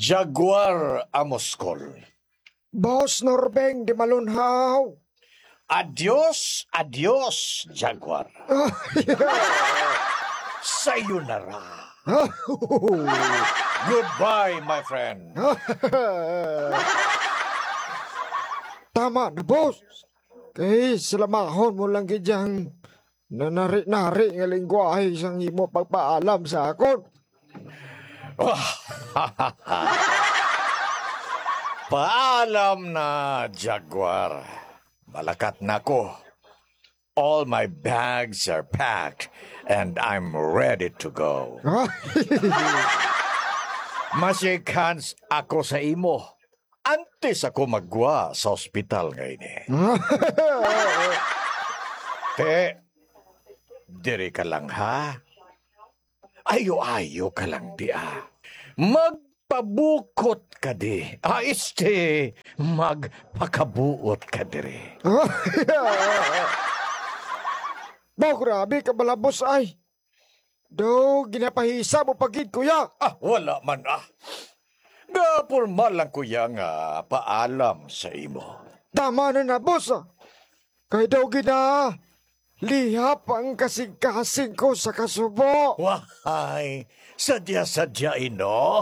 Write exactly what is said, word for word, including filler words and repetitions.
Jaguar Amoskol. Boss Norbeng di Malunhaw. Adios, adios, Jaguar. Sayonara. Goodbye, my friend. Tama na, boss. Kay salamahon mo lang gid yang nanari-nari nga lingwahe sang imo pagpaalam sa akon. Paalam na, Jaguar. Malakat na ko. All my bags are packed and I'm ready to go. Masikhans ako sa imo antes ako maggwa sa ospital nga ini. Te, diri ka lang, ha? Ayo-ayo ka lang, di, ah. Magpabukot ka di. Ah, este, magpakabuot ka diri. Ba, grabe ka, balabos ay. Daw, ginapahisa mo pa gid, kuya. Ah, wala man, ah. Gapormal lang, kuya, nga paalam sa imo. Tama na na, boss, ah. Kay daw gina, lihap ang kasing-kasing ko sa kasubo. Wahay, sadya-sadya ino.